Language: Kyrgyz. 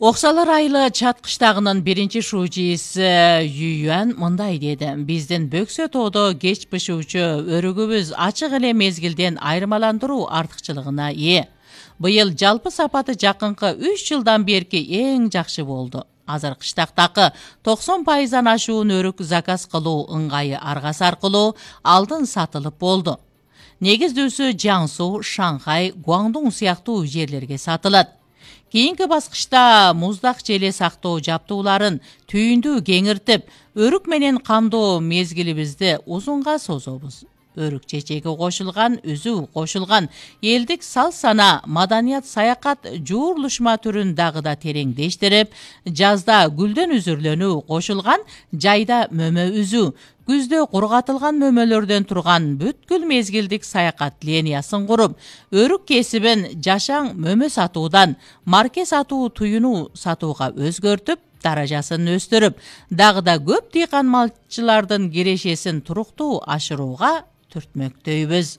Оксалар айылы Чат кыштагынын биринчи шуучиси Ююан мындай деди: биздин бөксө тоодо кеч бышуучу өрүгүбүз ачык эле мезгилден айырмаландыруу артыкчылыгына ээ. Быйыл жалпы сапаты жакынкы 3 жылдан берки эң жакшы болду. Азыр кыштактагы 90% ашуун өрүк заказ кылуу ыңгайы аргасы аркылуу алдын сатылып болду. Негиздүүсү Жаңсу, Шанхай, Гуандун сыяктуу жерлерге сатылат. Кийинки баскычта муздак желе сактоо жаптууларын түйүндүү кеңиртип, өрүк менен камдоо мезгилибизди узунга созобуз. Өрүк чечеги кошулган, үзүү кошулган элдик сал-сана, маданият, саякат жуурулушма түрүн дагы да тереңдештирип, жазда гүлдөн үзүрлөнүү кошулган, жайда мөмө үзүү, күздө кургатылган мөмөлөрдөн турган бүткүл мезгилдик саякат линиясын куруп, өрүк кесибин жашаң мөмө сатуудан марке сатуу, туюнуу сатууга өзгөртүп, даражасын өстүрүп, дагы да көп дыйкан малчылардын кирешесин туруктуу ашырууга түртмөктөйбүз.